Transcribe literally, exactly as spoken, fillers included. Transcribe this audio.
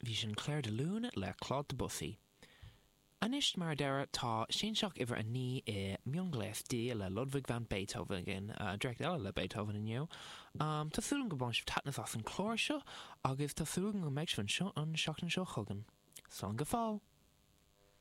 Bhí sin Clair de Lune le Claude Debussy. Anois mar deireadh tá Sianseach uimhir a naoi i mionghléas D le Ludwig van Beethoven againn, uh, dréacht eile le Beethoven inniu. Um, tá súil go mbain sibh taitneamh as an chlár seo agus tá súil go mbeidh sibh anseo an seachtain seo chugainn. Slán go fóill!